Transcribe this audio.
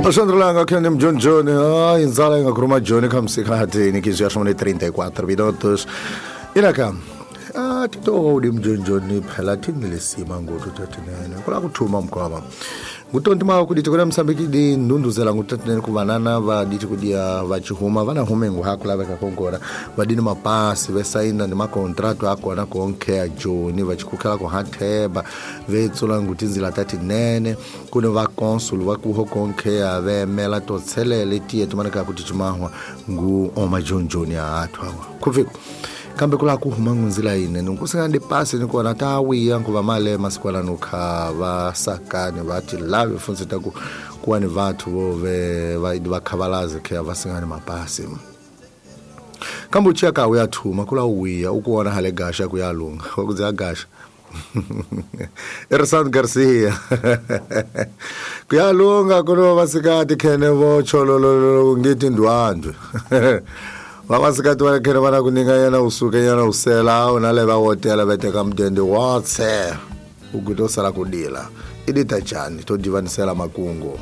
Alexandre Langa, Kenem John John, ai, nzala inga kuruma John kamsikati nikizia shomone 34 minutos. Inaka ah tito di mjonjoni phela thini lesima ngotu tatinene kula kuthuma mkwava ngutonti mawo kuditi kuna Msambiki di ndunduzela ngutatinene kuvanana vaditi kudia vachihuma vana humengu hakulaveka kongora vadini mapasi vesaina ni makontrato akona konkhea joni vachikukhela kuhatheba vetsula ngutinzila tatinene kune vakonsul vakuho konkhea vemela totselele tiye tumaneka kuti chimahwa ngu omajonjoni aathu awa khuviko kambe kula kuhuma ngunzila ine nkusingandi pasi nikona tawiya nkuva male masikwala nukha vasakani vati lave funsi taku kuwa ni vathu vove vakhavalazi khe vasingani mapasi kambe uchiya ka uyathuma kula uwiya ukuona hale gasha kuyalunga wakuzi gasha Ersan Garcia kuyalunga kuno vasikati khene vo cholololo ngithi ndwandwe vavasikati va khene vana kuninga yena usuke yena usela una le va hotela va teka mudende watse ukuti osala kudila idita njani to divanisela makungu.